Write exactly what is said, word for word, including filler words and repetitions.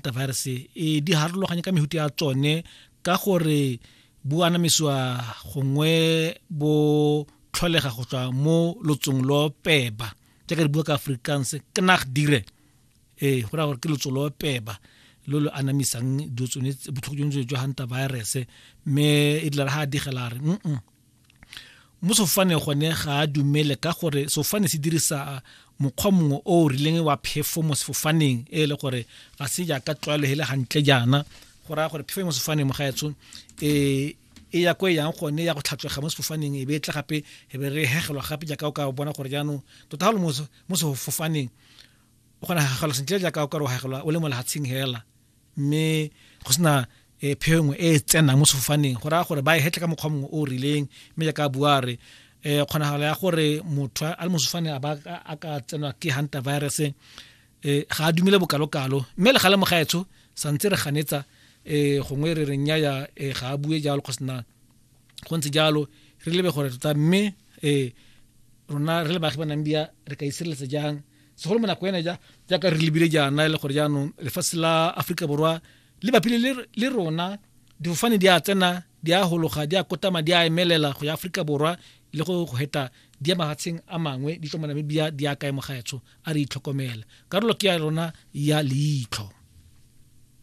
hantavirus e di harologanye ka mehuta ya tsone ka gore bo anamisiwa gongwe bo tlholega go tswa mo lotsong lo peba jaaka re bua ka Afrikaans knaagdiere ee go raya gore ke lotso lo peba lo lo anamisang dilo tsone botlhoko jono jwa hantavirus mme e dila ga a digela re mm mo sefofaneng gone ga a dumele ka gore sefofane se dirisa mokgwa mongwe o o rileng wa phefo mo sefofaneng e le gore ga se jaaka tlwaelo e le gantle jaana go raya gore phefo mo sefofaneng mo gaetsho e e ya ko e yang gone ya go tlhatswega mo sefofaneng e be e tla gape e be re hegelwa gape jaaka o ka bona gore jaanong tota ga o le mo sefofaneng o kgona go hegelwa sentle jaaka o ka re o hegelwa o le mo lefatsheng hela mme go sena e pheo nngwe e e tsenang mo sefofaneng go raya gore ba e hetle ka mokgwa mongwe o o rileng mme jaaka a bua re um kgonagalo ya gore motho a le mo sefofaneng a ba a ka tsenwa ke hantavirus um ga a dumele bokalokalo mme le gale mogaetsho santse re ganetsa um gongwe re re nnyaya um ga a bue jalo kgosena go ntse jalo re lebe gore tota mme um rona re le baagi ba Namibia re ka itshireletsa jang segolo mo nako ena ja jaaka re lebile jaana e le gore jaanong lefatshe la Aforika Borwa le bapile le rona difofane di a tsena di a hologa di a kotama di a emelela go ya Aforika Borwa le go go heta di ya mafatsheng a mangwe di tswa mo Namibia di ya kae mo gaetsho a re itlhokomele karolo ke ya rona ya leitlho.